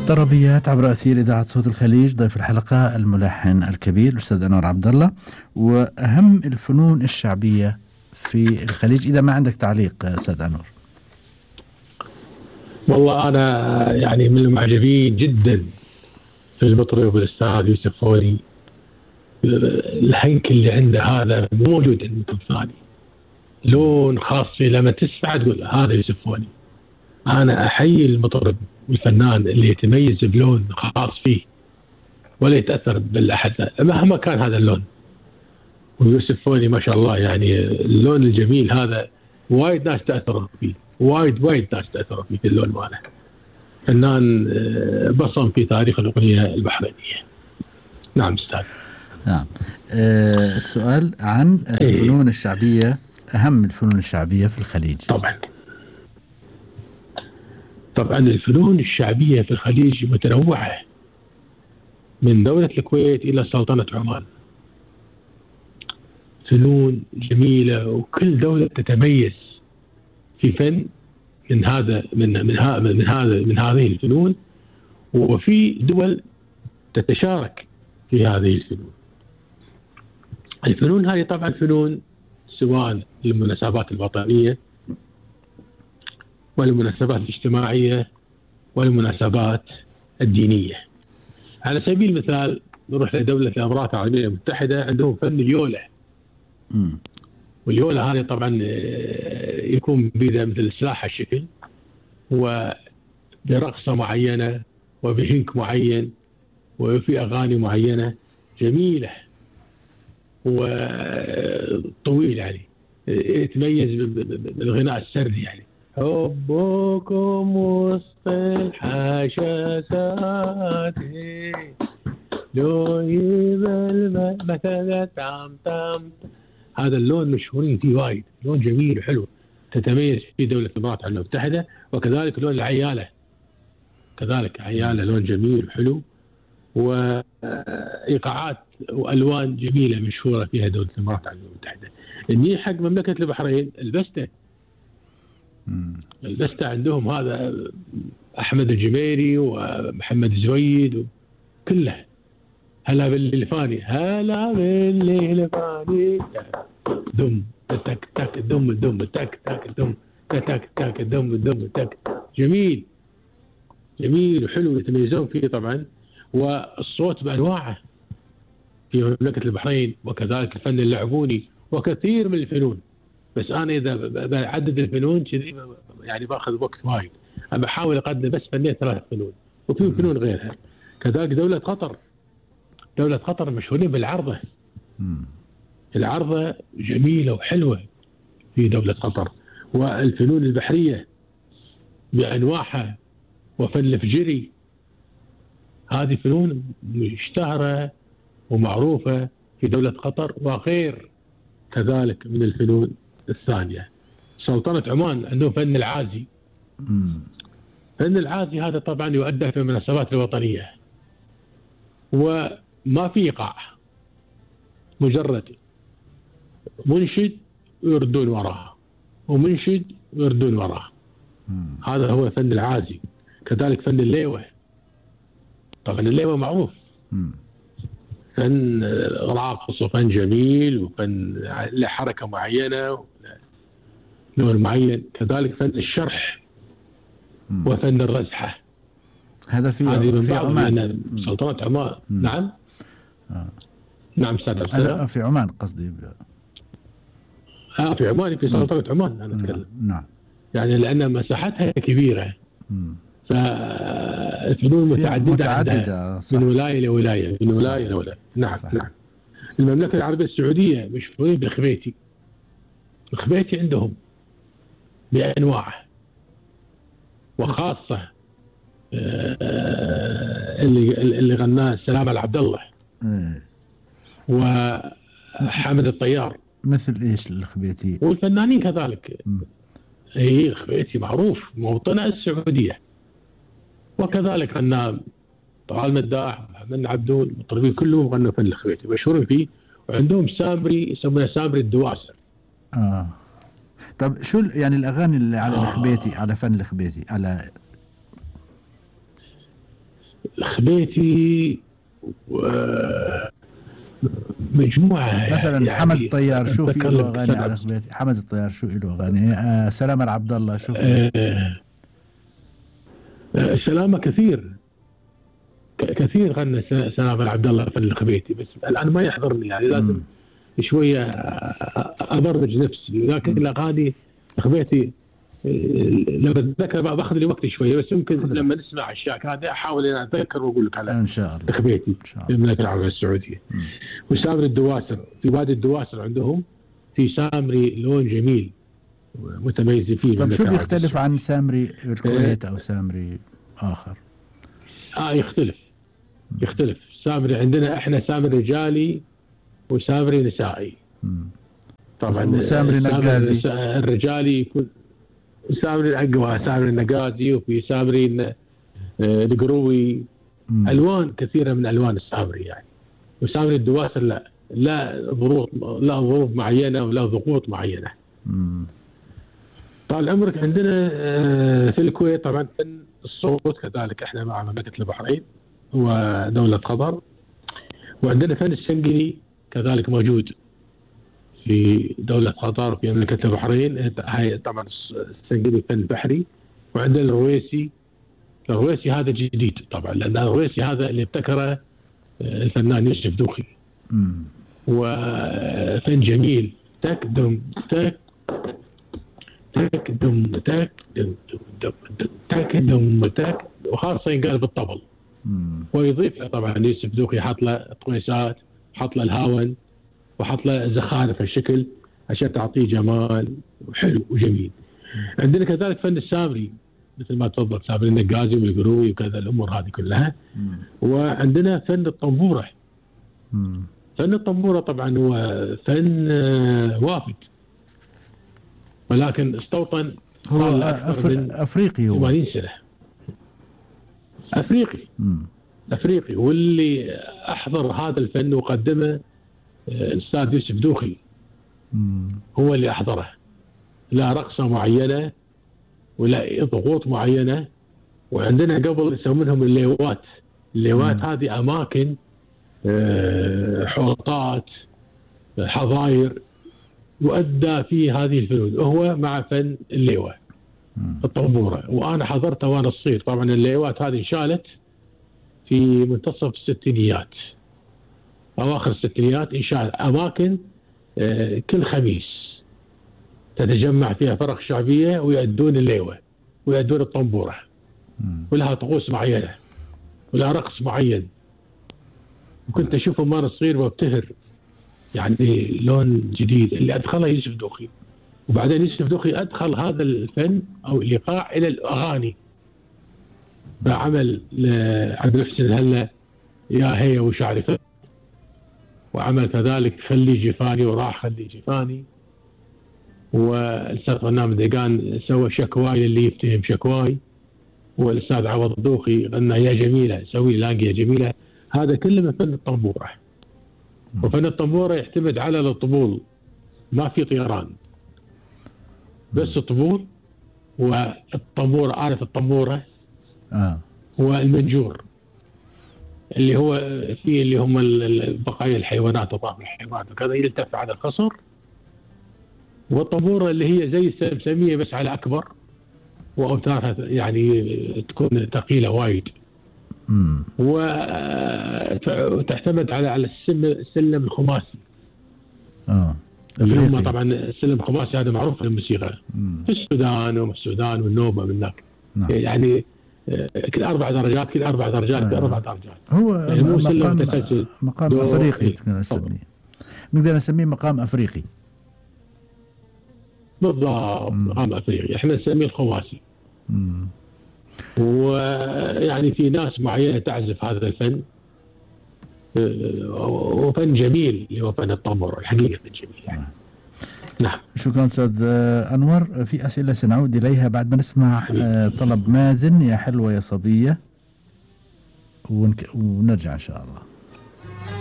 طربيات عبر أثير إذاعة صوت الخليج. ضيف الحلقة الملحن الكبير الأستاذ أنور عبد الله. وأهم الفنون الشعبية في الخليج، إذا ما عندك تعليق أستاذ أنور. والله أنا يعني من المعجبين جدا في المطرب الأستاذ يوسف فوري. الهنك اللي عنده هذا مو موجود عند مطرب ثاني، لون خاص فيه، لما تسمع تقول هذا يوسف فوري. أنا أحيي المطرب والفنان اللي يتميز بلون خاص فيه ولا يتأثر بالأحد مهما كان هذا اللون. ويوسف فوري ما شاء الله، يعني اللون الجميل هذا وايد ناس تأثروا فيه، وايد ناس تأثروا فيه اللون ماله. فنان بصم في تاريخ الأغنية البحرينية. نعم أستاذ. نعم. السؤال عن الفنون الشعبية، أهم الفنون الشعبية في الخليج. طبعا الفنون الشعبية في الخليج متنوعة، من دولة الكويت إلى سلطنة عمان. فنون جميلة، وكل دولة تتميز في فن من هذا من هذه الفنون، وفي دول تتشارك في هذه الفنون. الفنون هذه طبعا فنون سواء للمناسبات الوطنية والمناسبات الاجتماعية والمناسبات الدينية. على سبيل المثال نروح لدولة الإمارات العربية المتحدة، عندهم فن اليولة. واليولة هذه طبعا يكون بيده مثل سلاح الشكل، وبرقصة معينة وبهنك معين وفي أغاني معينة جميلة وطويل، يعني يتميز بالغناء السردي. يعني حبكم وسط الحشاشاتي لو يبل مثلا تام تام. هذا اللون مشهورين فيه وايد، لون جميل وحلو تتميز في دولة الإمارات العربية المتحدة. وكذلك لون العيالة، كذلك عيالة لون جميل وحلو، وإيقاعات وألوان جميلة مشهورة فيها دولة الإمارات العربية المتحدة. الني حق مملكة البحرين البستة. البستة عندهم هذا أحمد الجميري ومحمد الزويد كله. هلا باللي الفاني، هلا باللي الفاني، دم تك تك دم دم تك تك دم تك تك دم دم تك. جميل جميل وحلو يتميزون فيه طبعا. والصوت بأنواعه في مملكة البحرين، وكذلك الفن اللعبوني وكثير من الفنون. بس أنا إذا بعدد الفنون كذي يعني باخذ وقت وايد. أنا بحاول أقدم بس فنين 3 فنون، وفي فنون غيرها. كذلك دولة قطر، دولة قطر مشهورين بالعرضة. العرضة جميلة وحلوة في دولة قطر. والفنون البحرية بأنواعها وفن الفجري، هذه فنون مشتهرة ومعروفة في دولة قطر، وغير كذلك من الفنون الثانية. سلطنة عمان عندهم فن العازي. فن العازي هذا طبعا يؤدى في المناسبات الوطنية، وما في إيقاع، مجرد منشد ويردون وراها ومنشد ويردون وراها. هذا هو فن العازي. كذلك فن الليوة، طبعا الليوة معروف فن راقص وفن جميل وفن له حركة معينة لون معين. كذلك فن الشرح وفن الرزحة. هذا في عمان، سلطنة عمان. نعم نعم أستاذ. في عمان قصدي. في عمان، في سلطنة عمان أنا أتكلم. نعم. يعني لأن مساحتها كبيرة، فالفنون متعددة من ولاية لولاية، من ولاية لولاية. نعم صح. نعم. المملكة العربية السعودية مشهورين بالخبيتي. الخبيتي عندهم بأنواعه، وخاصة اللي غناه السلام على عبد الله وحامد الطيار. مثل ايش الخبيتي؟ والفنانين كذلك. اي الخبيتي معروف، موطنه السعودية. وكذلك غناه طلال مداح، محمد عبدون، المطربين كلهم غنوا فن الخبيتي مشهورين فيه. وعندهم سامري يسمونه سامري الدواسر. طب شو يعني الأغاني اللي على الخبيتي، على فن الخبيتي، على الخبيتي ومجموعة مثلا يعني حمد الطيار شو في أتذكر له لك اغاني سنة. على خبيتي؟ حمد الطيار شو له اغاني؟ سلام العبد الله شو في؟ سلامة كثير كثير غنى سلام عبد الله في الخبيتي، بس الان ما يحضرني يعني لازم شويه ابرج نفسي، لكن الاغاني الخبيتي لما اتذكر باخذ لي وقت شويه، بس يمكن لما نسمع الشاك هذا احاول ان اتذكر واقول لك على ان شاء الله الخبيتي في المملكه العربيه السعوديه. وسامري الدواسر في وادي الدواسر عندهم في سامري لون جميل متميز فيه. طيب شو بيختلف عن سامري الكويت او سامري اخر؟ يختلف. سامري عندنا احنا سامري رجالي وسامري نسائي. طبعا سامري نقازي الرجالي يكون سامري الأقوى، سامري النقازي، وفي سامري القروي. الوان كثيره من الوان السامري يعني. وسامري الدواسر لا ظروف معينه ولا ضغوط معينه. طال عمرك عندنا في الكويت طبعا فن الصوت كذلك احنا مع مملكه البحرين ودوله قطر، وعندنا فن السنقلي كذلك موجود في دولة قطر وفي مملكة البحرين. هاي طبعا السنقلي فن بحري. وعندنا الرويسي هذا جديد طبعا، لأن الرويسي هذا اللي ابتكره الفنان يوسف دوخي. وفن جميل تك دم تك تك دم تك دم تك دم تك، وخاصة ينقال بالطبل. ويضيف طبعا يوسف دوخي حط له طويسات، حط له الهاون، وحط له زخارف الشكل عشان تعطيه جمال وحلو وجميل. عندنا كذلك فن السامري مثل ما تفضل، سامري النقازي والقروي وكذا الامور هذه كلها. وعندنا فن الطنبوره. فن الطنبوره طبعا هو فن وافد، ولكن استوطن هو افريقي، هو 80 سنه افريقي. واللي احضر هذا الفن وقدمه الاستاذ يوسف دوخي، هو اللي احضره. لا رقصه معينه ولا ضغوط معينه. وعندنا قبل يسمونهم الليوات هذه اماكن حوطات حظاير يؤدى في هذه الفنون، وهو مع فن الليوه الطنبوره. وانا حضرته وانا صغير. طبعا الليوات هذه انشالت في منتصف الستينيات، اواخر الستينيات، انشاء اماكن كل خميس تتجمع فيها فرق شعبيه ويؤدون الليوه ويؤدون الطنبوره، ولها طقوس معينه ولها رقص معين. وكنت اشوفهم وانا صغير وابتهر، يعني لون جديد اللي ادخله يوسف دوخي. وبعدين يوسف دوخي ادخل هذا الفن او الايقاع الى الاغاني، بعمل عبد المحسن الهلا يا هي وش اعرفه، وعمل كذلك خلي جفاني وراح خلي جفاني. والاستاذ غنام دقان سوى شكواي اللي يفتهم شكواي. والاستاذ عوض الدوخي غنى يا جميله سوي لاقي يا جميله. هذا كله من فن الطنبوره. وفن الطنبوره يعتمد على الطبول، ما في طيران، بس طبول. والطنبوره عارف الطنبوره والمنجور اللي هو فيه اللي هم بقايا الحيوانات وطعم الحيوانات وكذا، يلتف على القصر. والطنبوره اللي هي زي السمسميه بس على اكبر، واوتارها يعني تكون ثقيله وايد. وتعتمد على السلم الخماسي. اللي هم طبعا السلم الخماسي هذا معروف في الموسيقى في السودان والنوبه من هناك. يعني كل 4 درجات كل 4 درجات كل 4 درجات. هو يعني مقام افريقي نقدر نسميه مقام افريقي. بالضبط مقام افريقي، احنا نسميه الخماسي. ويعني في ناس معينه تعزف هذا الفن، وفن جميل اللي هو فن الطنبوره، الحقيقه فن جميل يعني. نعم. شكرا استاذ انور. في اسئله سنعود اليها بعد ما نسمع طلب مازن يا حلوه يا صبيه، ونرجع ان شاء الله.